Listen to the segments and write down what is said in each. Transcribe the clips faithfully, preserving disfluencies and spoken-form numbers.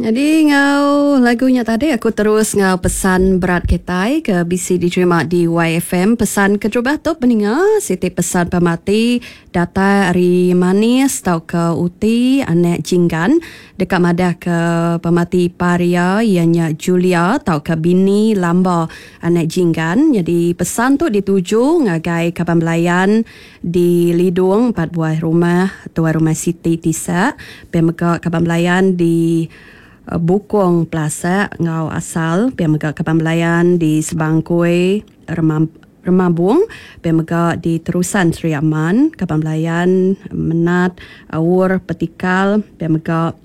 Jadi ngau lagunya tadi aku terus ngau pesan berat kitai ke bisi diterima di Y F M. Pesan keterubah tu peninga siti pesan pemati data ari manis tau ke uti anak jinggan dekat madah ke pemati paria ianya Julia tau ke bini lamba anak jinggan. Jadi pesan tu dituju ngagai kaban belayan di Lidung empat buah rumah tuai rumah Siti Tisa pemega kaban belayan di Bukong Plaza ngau asal pemega kaban belayan di Sebangkui Remam, Remabung pemega di Terusan Sri Aman kaban belayan Menat Aur Petikal pemega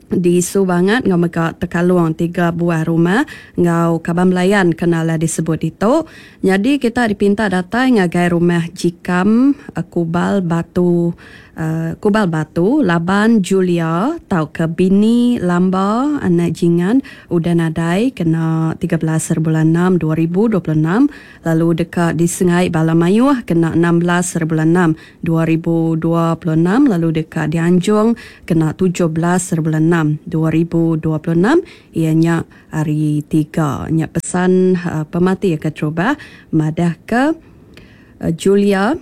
di Subangat ngau mega Tekalung tiga buah rumah ngau kaban belayan kenalah disebut itu. Jadi kita dipinta datai ngagai rumah Jikam Kubal Batu uh, Kubal Batu Laban Julia tau ke bini Lamba anak Jingan udah nadai kena tiga belas bulan enam dua ribu dua puluh enam lalu dekat disengai bala mayuh kena enam belas bulan enam dua ribu dua puluh enam lalu dekat dianjung kena tujuh belas bulan enam dua ribu dua puluh enam ianya hari tiga. Nya pesan uh, pemati ke terubah madah ke uh, Julia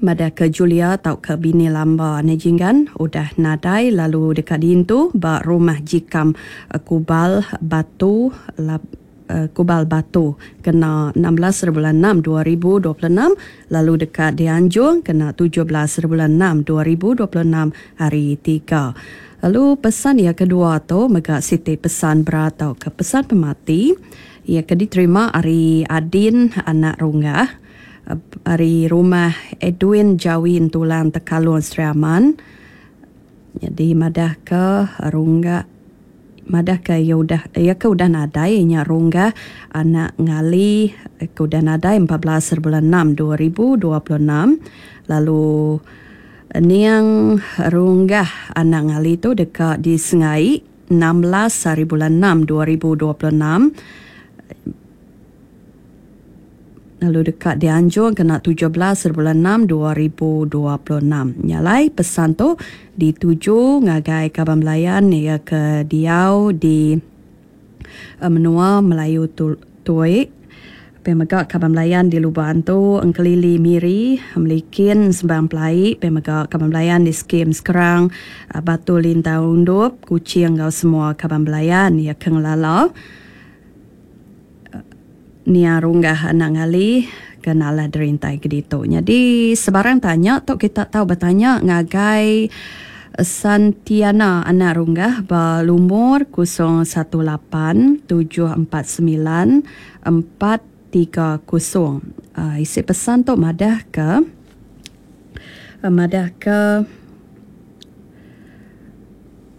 madah ke Julia tau ke bini Lamba anak Jinggan udah nadai lalu dekat diintu ba rumah Jikam uh, Kubal Batu lab, uh, Kubal Batu kena enam belas bulan enam dua ribu dua puluh enam lalu dekat dianjung kena tujuh belas bulan enam dua ribu dua puluh enam hari tiga. Lalu pesan yang kedua tu mega siti pesan berat atau ke pesan pemati ia ke diterima ari Adin anak Runggah ari rumah Edwin Jawin Tulang Tekalung Sri Aman. Jadi madah ke Runggah madah ke ia udah ia ke udah nadai nya Runggah anak ngali ke udah nadai empat belas bulan enam dua ribu dua puluh enam lalu niang Runggah anak ngali tu dekat di Sengai enam belas hari bulan enam dua ribu dua puluh enam lalu dekat dianjung kena tujuh belas bulan enam dua ribu dua puluh enam. Nyalai pesan tu dituju ngagai kaban belayan ia ke diau di menua Melayu Tuik. Pemega kaban belayan di Lubang tu Engkelili Miri Melikin Sembang Pelai pemega kaban belayan di Skim Sekerang Batu Lintau Undup Kuching ngau semua kaban belayan ia ke ngelala Nia Runggah anak ngali kenalah derintai ke ditu. Jadi sebarang tanya tu kita tahu bertanya ngagai Santiana anak Runggah ba lumur kosong satu lapan tujuh empat sembilan empat tiga kosong. Uh, isi pesan tu madah ke uh, madah ke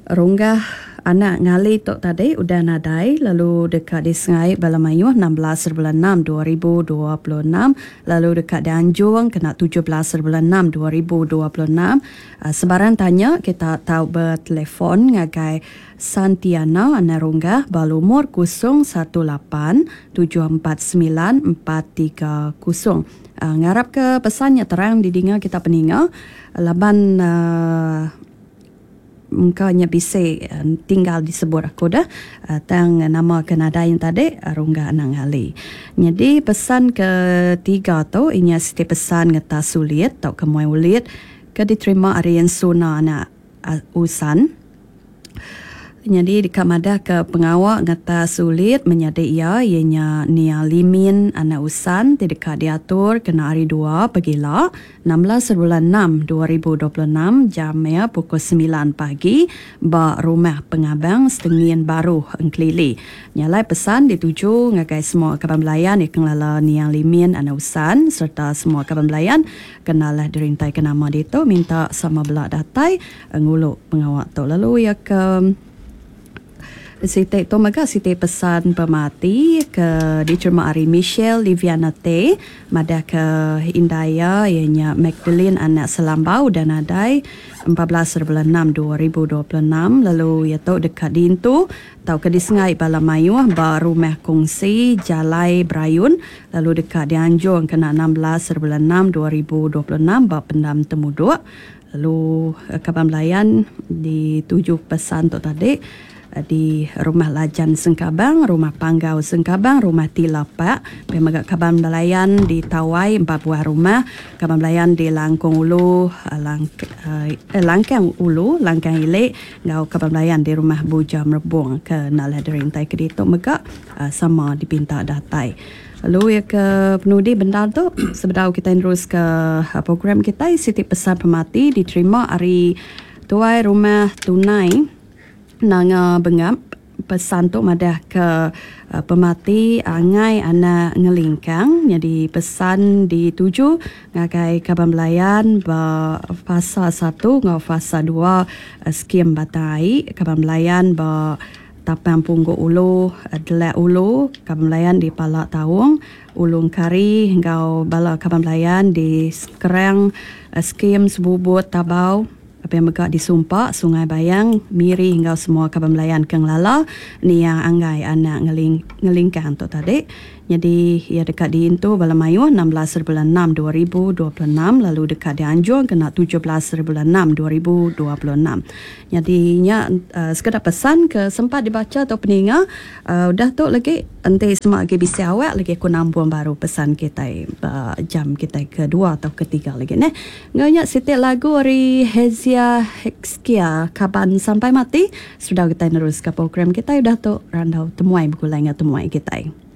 Runggah anak ngali tu tadi udah nadai lalu dekat di Sengai Bala Mayuh enam belas bulan enam dua ribu dua puluh enam lalu dekat di Anjung kena tujuh belas bulan enam dua ribu dua puluh enam. Uh, sebarang tanya kita tahu bertelefon ngagai Santiana anak Runggah balumur kosong satu lapan tujuh empat sembilan empat tiga kosong. Uh, ngarap ke pesannya terang didinga kita peninga laban uh, mungkanya bisa tinggal disebut aku dah tang nama kenada yang tadi Runggah anak ngali. Jadi pesan ketiga tu inya siti pesan ngeta sulit atau ke muai ulit ke diterima ari Suna anak Usan. Jadi dekat madah ke pengawak ngata sulit menyadi ia ianya Nia Limin anak Usan ti dekat diatur kena hari dua pagila enam belas bulan enam dua ribu dua puluh enam jam ya pukul sembilan pagi ba rumah pengabang Setengin Baru Engkelili. Nyalai pesan dituju ngagai semua kaban belayan yang kenala Nia Limin anak Usan serta semua kaban belayan kenalah dirintai ke nama ditu minta sama belak datai nguluk pengawak tu. Lalu ia ke Siti tu mega siti pesan pemati ke diterima ari Michelle Liviana T madah ke Indaya ianya Magdalene anak Selambau dan adai empat belas bulan enam dua ribu dua puluh enam lalu ia tu dekat dintu tau ke disengai bala mayuh ba rumah kongsi Jalai Berayun lalu dekat dianjung kena enam belas bulan enam dua ribu dua puluh enam ba pendam Temuduk lalu kaban belayan dituju pesan tu tadi Di Rumah Lajan Sengkabang, Rumah Panggau Sengkabang, Rumah Tilapak, pia mega kaban belayan di Tawai empat buah rumah, kaban belayan di Langkung Ulu, Lang, eh, Langkang Ulu, Langkang Ilik, ngau kaban belayan di Rumah Buja Merebung ke Nalai Derintai ke ditu mega sama dipinta datai. Lalu ya ke penudi bendar tu sebedau kita terus ke program kita siti pesan pemati diterima hari Tuai Rumah Tunai Nanga Bengap. Pesan tu madah ke uh, pemati angai anak ngelingkang, jadi pesan dituju ngagai kaban belayan ba fasa satu ngau fasa dua uh, skim Batai, kaban belayan ba Tapang Punggu Ulu, Delak Ulu, kaban belayan di Pala Taung, Ulung Kari ngau bala kaban belayan di Sekerang uh, skim Sebubut Tabau, apa yang megak disumpak Sungai Bayang, Miri hingga semua kaban belayan ke Ngelala ni yang anggai anak ngeling, ngelingkang tu tadi. Jadi ia dekat di Intu bala mayuh enam belas bulan enam dua ribu dua puluh enam, lalu dekat di Anjung kena tujuh belas bulan enam dua ribu dua puluh enam. Jadi nya uh, sekedar pesan ke sempat dibaca atau peninga uh, udah tu lagi enti semak lagi bisi awak lagi aku nambung baru pesan kita uh, jam kita kedua atau ketiga lagi neh. Nganya siti lagu ari Hezia Hexkia Kaban Sampai Mati. Sudah kita terus ke program kita udah tu randau temuai begulai dengan temuai kita.